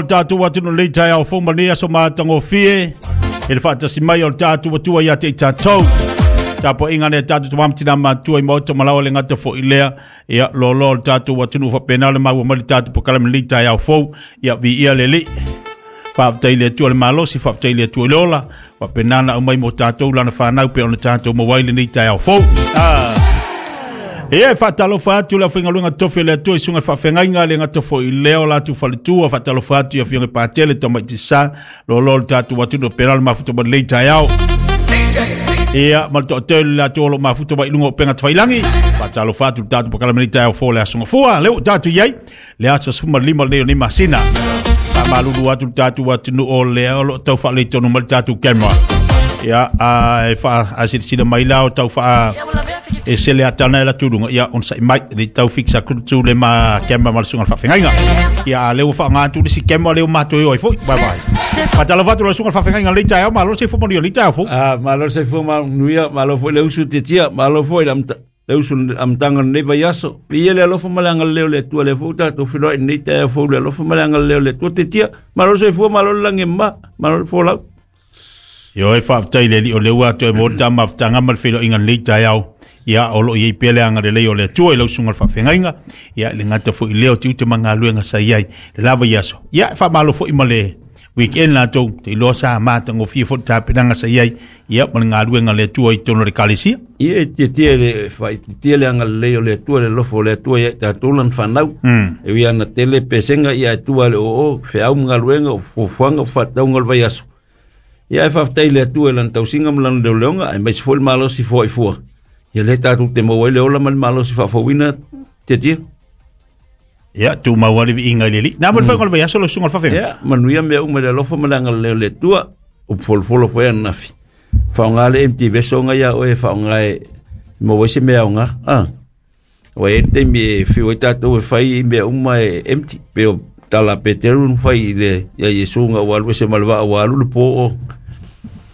O le tatou atunuu lenei taeao fou ma lenei aso matagofie i le faatasi mai o le tatou Atua ia te i tatou. Tapuaiga lea tatou tama ma tina matutua i maota ma laoa le gata foi lea ia loaloa o le tatou atunuu faapena le maua mai le tatou polokalame lenei taeao fou ia viia le Alii. Faafetai i le Atua le malosi, faafetai i le Atua i le ola, faapena na aumai mo tatou lana fanau pe ona tatou maua ai lenei taeao fou. Ia, e faatalofa atu le aufaigaluega tofi a le Atua i susuga i faafeagaiga, le gata foi i lea o latou faletua, faatalofa atu i afioga i Patele, Tamaiti Sa, loaloa o le tatou atunuu, pena le mafuta mai lenei taeao. Ia, ma le toatele o latou o lo o mafuta mai i luga o upega tafailangi. Faatalofa atu i le tatou polokalame lenei taeao fou o le Aso Gafua. Lea ua tatou i ai, le aso 15 lenei o nei masina. Faamalulu atu le tatou atunuu o lea o lo o tau faaletonu mai le tatou camera. Ia, a e faasilasila mai la o tau faa e sele atana e la tuluga, ia on sai mai, le tau fix atu le tu le ma camera ma le susuga i le faafeagaiga. Ia, a lea ua faaaoga atu le isi camera lea ua matou o ai foi. Bye bye. Faatalofa atu i le susuga i le faafeagaiga i lenei taeao, malo le soifua manuia i lenei taeao fou. Ah, malo le soifua manuia, malo foi le usu tiatia, malo foi le le usu i le amataga o lenei vaiaso. Viia le alofa ma le agalelei o le Atua, lea foi ua tatou feiloai i lenei taeao fou i le alofa ma le agalelei o le Atua. Tetia, malo le soifua, malo le lagi e mama, malo le folau. Ioe, faafetai i le Alii o lea ua toe maua le ta mafutaga ma le feiloaiga i lenei taeao. Ia, o lo o i ai pea le agalelei o le Atua i lau susuga i le faafeagaiga. Ia, le gata foi i lea o tiute ma galuega sa i ai le la vaiaso. Ia, faamalo foi ma le weekend latou, te iloa sa matagofie foi le tapenaga sa i ai, ia, ma le galuega a le Atua i totonu o le Ekalesia. Ia, e tietie le faaitiitia le agalelei o le Atua, le alofa o le Atua ia i tatou lana fanau. E ui lava ina tele pesega, ia ae tua i le oo, feau ma galuega, o fuafuaga, o faatatauga o le vaiaso. Ia ae faafetai i le Atua i lana tausiga ma lana leoleoga, aemaise foi le malosi foai fua. Ia lea tatou te maua ai le ola ma le malosi faafouina, tietie. Ia, tumau lava le viiga i le Alii. Na mo le faaiuga o le vaiaso lau susuga i le faafeagaiga. Ia, manuia mea uma i le alofa ma le agalelei o le Atua. Upu folofolo foi ananafi. Faaaoga le empty vessel nga ia oe e faaaoga e maua ai se mea aoga. Ah. Ua i ai le taimi e fiu ai tatou e fai i mea uma e empty. Pei o tala a Peteru na fai i le ia Iesu nga ua alu ese ma le vaa ua alu le po o